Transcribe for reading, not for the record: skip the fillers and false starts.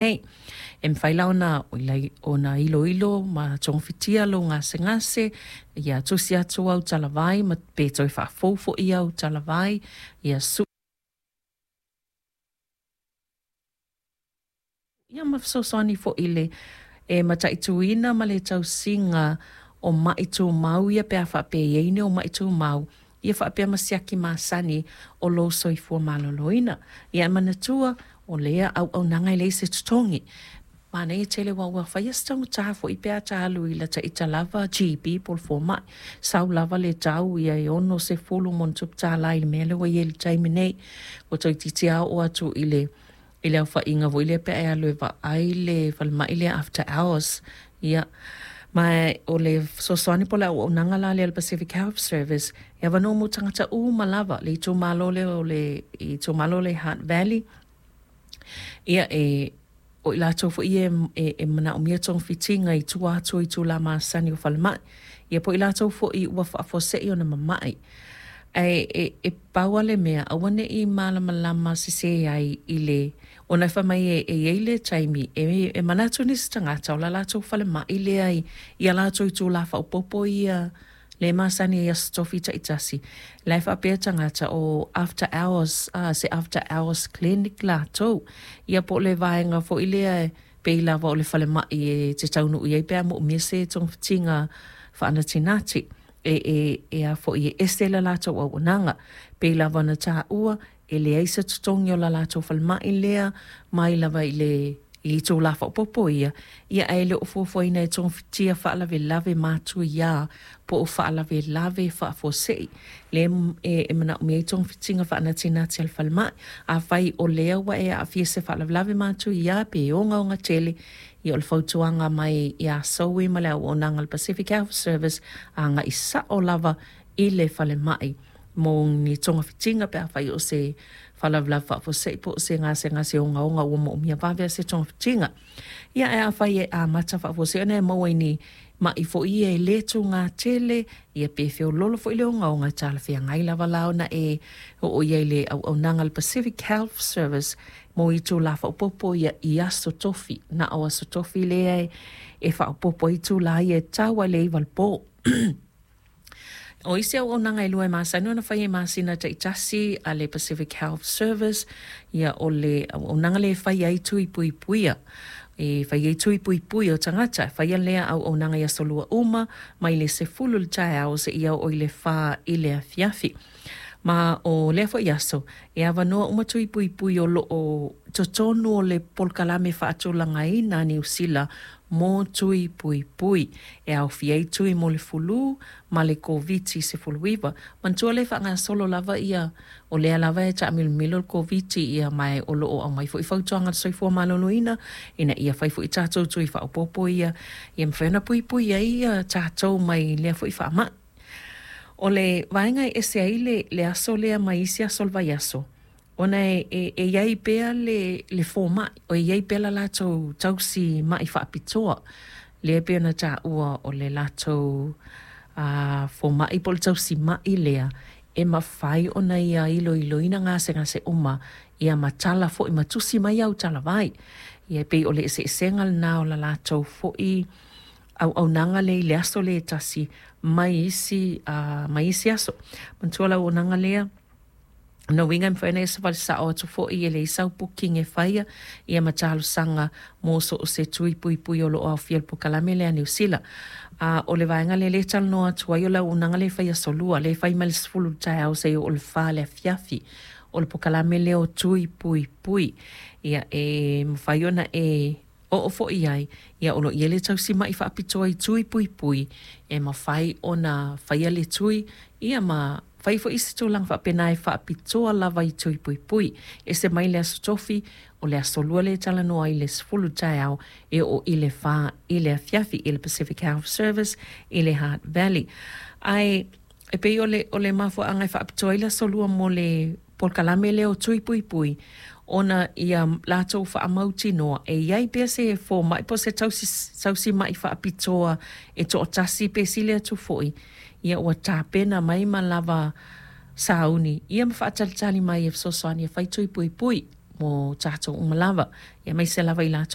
Nei. E mafai la ona iloilo ma togafitia lou gasegase, ia tusi atu au talavai ma pe toe faafou foi au talavai, ia ia ma fesoasoani foi i le e mataituina ma le tausiga o ma'i tumau ia pe a faapea e i ai ni ou ma'i tumau, ia faapea ma siaki masani o lou soifua maloloina. Ia e manatua, o lea auaunaga e leai se totogi. Manaia tele aua ua fai lava si taugata foi pe a ta alu i lata ita lava GP po o le fomai. Sau lava le tau ia e $60+ i le mea lea ua i ai i le taimi nei. Ua toeitiiti lava oo atu i le aofaiga foi lea pe a e alu e vaai le falemai lea after hours. Ia, ma o le fesoasoani po o le auaunaga la lea a le Pacific Health Service, e avanoa mo tagata uma lava i le itumalo lea o le itumalo lea i Hutt Valley. Ia, o i latou foi ia e manaomia togafitiga i tua atu o itula masani o falemai, ia po o i latou foi ua faafuasei ona mamai. Ae e pau lava le mea, aua ne i malamalama sese ai i le… ona fai mai e i ai le taimi e manatu nisi tagata o le latou falemai lea i a latou itula faaopoopo ia lea e masani ai i aso Tofi taitasi, la e faapea tagata o after hours, se after hours clinic latou. Ia po o le vaega foi lea e pei lava o le falemai e te taunuu i ai pe a moomia se togafitiga faanatinati. E ese le latou auaunaga. Pei lava ona taua, e leai se totogi o le latou falemai lea mai lava i le itula faaopoopo ia, ia ae le o fuafuaina e togafitia faalavelave matuia po o faalavelave faafuasei lea e manaomia ai togafitiga faanatinati a le falemai. Afai o lea ua e aafia i se faalavelave matuia pe ogaoga tele, ia o le fautuaga mai ia Zoe ma le auaunaga a le Pacific Health Service, agai sao lava i le falemai mo ni togafitiga pe afai o se faalavelave faafuasei po o se gasegase ogaoga ua moomia vave lava se togafitiga. Ia ae afai e amata faafuasei ona e maua i ni mai foi ia e le tuga tele, ia pe feoloolo foi le ogaoga, e talafeagai lava la ona e oo i ai i le auaunaga a le Pacific Health Service mo itula faaopoopo ia i aso Tofi. Na o aso Tofi lea e faaopoopo ai itula ia e tau lava i le 9 i le po. O isi auaunaga e lua e masani ona faia i masina taitasi a le Pacific Health Service, ia o le auaunaga lea e fai ai tui puipuia. E fai ai tui puipui o tagata. E faia lea auaunaga i aso Lua uma mai le 10 i le taeao seia oo i le 4 i le afiafi. Ma o lea foi aso, e avanoa uma tui puipui o lo o totonu o le polokalame faatulagaina a Niu Sila mo tui puipui, e aofia ai tui mo le fulu ma le Koviti-19. Manatua lea e faagasolo lava ia, o lea lava e taamilomilo le Koviti ia ma o lo o aumai foi fautuaga a le Soifua Maloloina ina ia fai foi tatou tui faaopoopo ia ia mafai ona puipui ai tatou mai lea foi faamai. O le vaega e ese ai le aso lea mai isi aso o le vaiaso, ona e i ai pea le fomai, e i ai pea le latou tausi ma'i faapitoa, lea e pei ona taua o le latou fomai po o le tausi ma'i lea e mafai ona ia iloiloina gasegase uma ia ma tala foi ma tusi mai au talavai. Ia e pei o le eseesega lena o le latou foi auaunaga lea i le aso lea e tasi mai isi aso. Manatua le auaunaga lea, o lona uiga e mafai ona e savali sao atu foi e leai sau booking e faia ia ma talosaga mo so o se tui puipui o lo o aofia i le polokalame lea a Niu Sila. A o le vaega lea lea e talanoa atu ai o le auaunaga lea e fai aso Lua, lea e fai mai le 10 i le taeao seia oo i le 4 i le afiafi. O le polokalame lea o tui puipui. Ia e mafai ona e oo foi i ai, ia o lo o i ai le tausi ma'i faapitoa i tui puipui e mafai ona faia le tui ia ma fai foi isi tulaga faapena e faapitoa lava i tui puipui. Ese mai le aso Tofi, o le aso Lua lea e talanoa ai i le 10 i le taeao e oo i le 4 i le afiafi i le Pacific Health Service i le Hutt Valley. Ae e pei o le mafuaaga e faapitoa ai le aso Lua mo le polokalame lea o tui puipui, ona ia latou faamautinoa e i ai pea se fomai po o se tausi ma'i faapitoa e toatasi pe sili atu foi, ia ua tapena mai ma lava sauni ia ma faatalitali mai e fesoasoani e fai tui puipui mo tatou uma lava, aemaise lava i latou